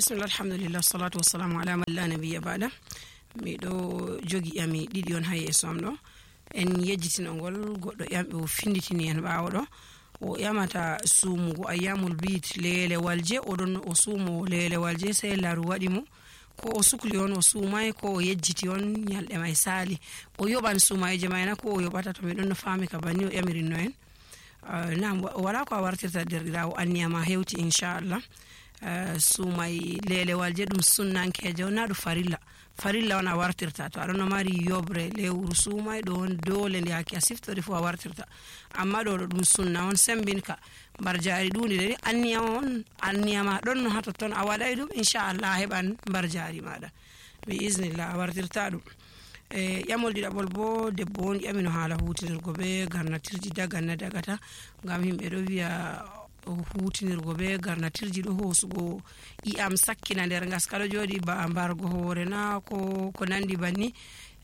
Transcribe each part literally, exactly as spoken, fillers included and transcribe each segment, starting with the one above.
Bismillah, alhamdulillah, salatu wassalamu ala man la nabiyya ba'da. Miɗo jogi ƴami ɗiɗi on ha yeeso am ɗo. En yejjitino ngol, goɗɗo ƴamɓe o finditini en ɓaawo ɗo. O ƴamata suumugo ayyamul biid, leelewal je, o ɗon o suumo leelewal je, sey laru waɗi mo. Ko o sukli on o suumay, ko o yejjiti on ñalɗe may saali. O yoɓan suumayje may na, ko o yoɓata? To mi ɗon no faami ka banni o ƴamirinno en. Ah, naam, wa-, wala ko a wartirta derɗiraawo, anniya ma hewti, inchallah. Ah, suumay leelewal je ɗum sunnankejo, na ɗum farilla. Farilla on a wartirta. To aɗon no mari yoɓre lewru suumay ɗo on dole nde hakke a siftori fu a wartirta. Amma ɗo ɗo ɗum sunna on sembinka. Mbar jaari ɗuuɗi ɗe anniya on, anniya ma ɗon no ha totton a waɗay ɗum, inchallah a heɓan mbar jaari maɗa. Bi iznillah a wartirta ɗum. E ƴamol ɗiɗaɓol bo, debbo on ƴamino haala hutinirgo be garnatirji daganna dagata, ngam himɓe ɗo wiya hutinirgo be garnatirji ɗo hoosugo ƴi'am sakkina nder ngaska ɗo jooɗi ba mbargo hoore na ko, ko nandi banni.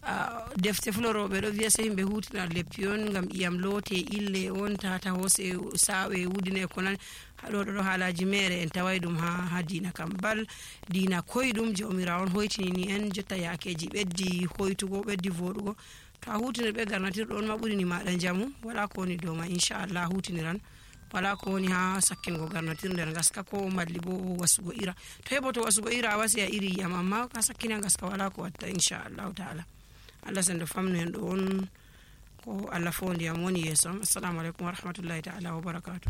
Ah, defte fulorooɓe ɗo wiya sey himɓe hutina leppi on ngam ƴi'am loote ille on tata hoose saawe wudine ko nan. Haɗo ɗo ɗo haalaji mere en taway ɗum ha, ha diina kam bal, diina koyɗum Jawmiraawo on hoytinini en, jotta yaakeji ɓeddi hoytugo, ɓeddi voɗugo. To a hutinir ɓe garnatirɗo on ma ɓurini maɗa njamu, wala ko woni dow ma, inchallah a hutiniran. Wala ko woni ha sakkingo garnatir nder ngaska ko malli bo wasugo ira. To heɓoto wasugo ira a wasi a iri yiyam, amma ka sakkina ngaska wala ko watta, inchallahu taala. Allah sendo famnu en ɗo on ko Allah fondi am woni yeeso am. Assalamu alaikum wa rahmatullahi taala wa barakatuh.